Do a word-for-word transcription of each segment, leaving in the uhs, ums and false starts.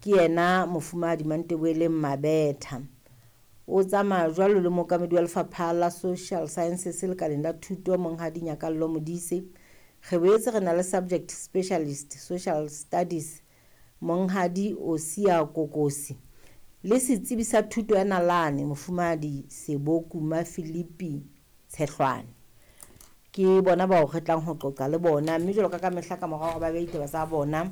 Ke yena Mofumahadi Mantebeleng Mabetha. O tsamaya jwalo le mookamedi wa lefapha la Social Sciences lekaleng la thuto Monghadi Nyakallo Modise. Re boetse re na le subject specialist Social Studies Monghadi Osia Kokosi le setsebi sa thuto ya nalane Mofumahadi Sebokuma Philippi Tshehlwane. Ke bona bao re tlang ho qoqa le bona, mme jwalo ka ka mehla ka mora hore ba behe ditaba tsa bona,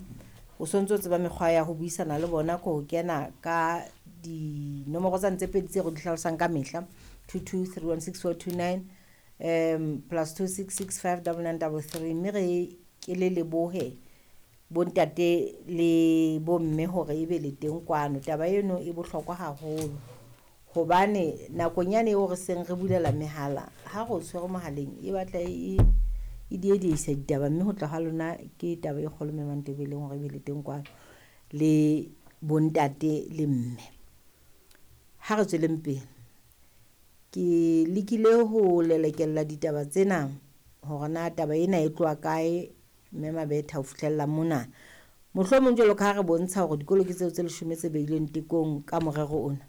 o sontso o tseba mekgwa ya ho buisana le bona ko ho kena ka dinomoro tsane tse pedi tse re di hlalosang ka mehla, two two three one six four two nine, um plus two six six five double nine double three. Mme re ke le lebohe bontate le bomme hore ebe le teng kwano. Taba eno e bohlokwa haholo hobane nakong yane eo re seng re bulela mehala, ha re o tshwere mohaleng e batla e e diedisa ditaba, mme ho tla ha lona ke taba e kgolo mme Mantebeleng hore ebe le teng kwano le bontate le mme. Ha re tsweleng pele, ke lekile ho lelekella ditaba tsena hore na taba ena e tloha kae mme Mabetha ho fihlella mona. Mohlomong jwalo ka ha re bontsha hore dikolo ke tseo tse leshome tse beilweng tekong ka morero ona.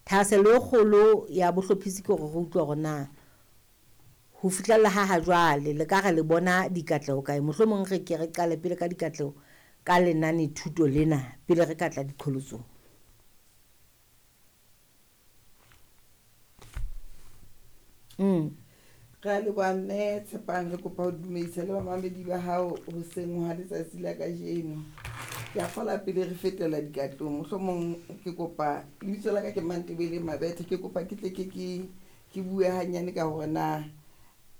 Thahasello e kgolo ya bohlophisi ke hore re utlwe hore na ho fihlella ha ha jwale le ka re le bona dikatleho kae. Mohlomong re ke re qale pele ka dikatleho ka lenane thuto lena pele re ka tla diqholotsong. Mm. Re a leboha mme Tshepang, re kopa ho dumedisa le bamamedi ba hao hoseng ha letsatsi la kajeno. Ke a kgola pele re fetela dikatlong, mohlomong ke kopa lebitso la ka ke Mantebele Mabetha, ke kopa ke tle ke ke ke bue hanyane ka hore na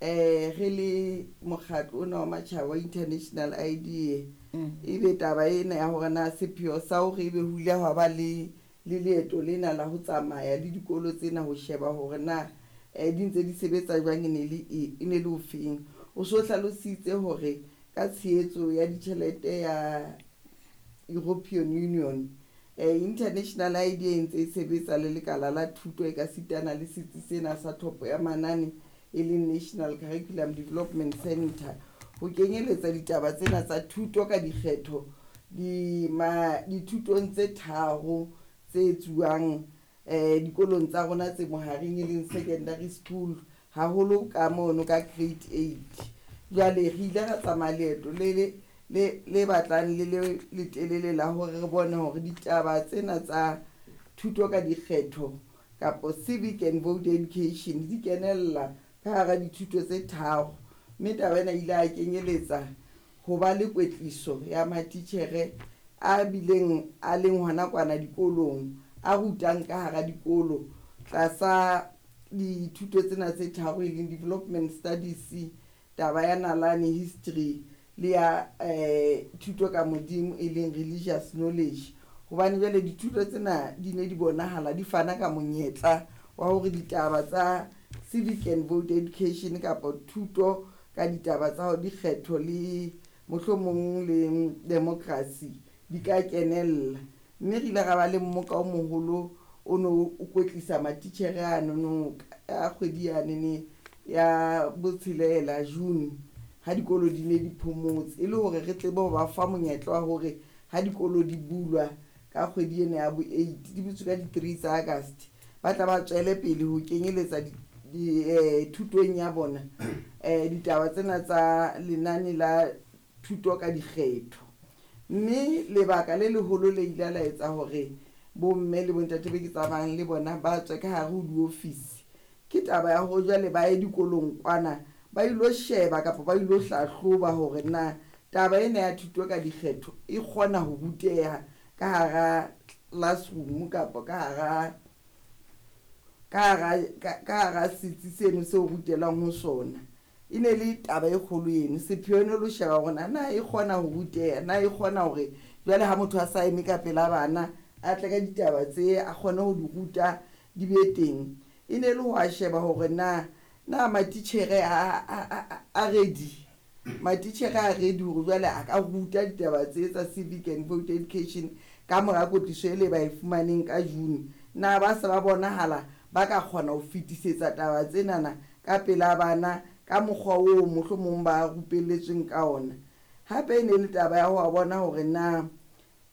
eh re le mokgatlo ona wa matjhaba wa International I D A, ebe taba ena ya hore na sepheo sa hore ebe ho ile hwa ba le le leeto lena la ho tsamaya le dikolo tsena ho sheba hore na eh di ntse di sebetsa jwang, e ne le e, e ne le ofeng. O so hlalositse hore ka tshehetso ya ditjhelete ya European Union, eh, International I D A e ntse e sebetsa le lekala la thuto e ka sitana le setsi sena sa tlhopho ya manane e leng National Curriculum Development Center, ho kenyeletsa ditaba tsena tsa thuto ka dikgetho di ma dithutong tse tharo tse etsuwang eh dikolong tsa rona tse mohareng e leng secondary school, haholo ka mono ka grade eight. Jwale re ile ra tsamaya leeto le le le le batlang le le letelele la hore re bone hore ditaba tsena tsa thuto ka dikgetho kapo civic and vote education di kenella ka hara dithuto tse tharo, mme taba ena ile a kenyeletsa ho ba le kwetliso ya matitjhere a bileng a leng hona kwana dikolong, a rutang ka hara dikolo tlasa dithuto tsena tse tharo e leng development studies, taba ya nalane history le ya, eh, thuto ka modimo e leng religious knowledge. Hobane jwale dithuto tsena di ne di bonahala di fana ka monyetla wa hore ditaba tsa civic and vote education kapa thuto ka ditaba tsa dikgetho le mohlomong le democracy di ka kenella. Mme re ile ra ba le mmoka o moholo o no o kwetlisa matitjhere ano a kgwedi yanene ya botshelela June, ha dikolo di ne di phomotse, e le hore re tsebe ho ba fa monyetla wa hore ha dikolo di bulwa ka kgwedi ena ya bo eight, di butswe ka di three tsa August, ba tla ba tswele pele ho kenyeletsa di, di, eh, thutong ya bona, eh, ditaba tsena tsa lenane la thuto ka dikgetho. Mme lebaka le leholo le ile la etsa hore bomme le bontate be ke tsamayang le bona ba tswe ka hare ho diofisi ke taba ya hore jwale ba ye dikolong kwana ba ilo sheba kapa ba ilo hlahloba hore na taba ena ya thuto ka dikgetho e kgona ho ruteha ka hara classroom kapa ka hara, ka hara, ka, ka hara setsi seno seo rutelwang ho sona. E ne le taba e kgolo eno, sepheo e ne le ho sheba hore na, na e kgona ho ruteha, na e kgona hore jwale ha motho a sa eme ka pela bana a tle ka ditaba tse a kgone ho di ruta di be teng. E ne le ho a sheba hore na, na matitjhere a, a, a, a ready, matitjhere a ready hore jwale a ka ruta ditaba tse tsa civic and vote education ka mora kwetliso e le ba e fumaneng ka June. Na ba se ba bonahala ba ka kgona ho fetisetsa taba tsenana ka pela bana ka mokgwa oo mohlomong ba rupelletsweng ka ona. Hape e ne le taba ya ho bona hore na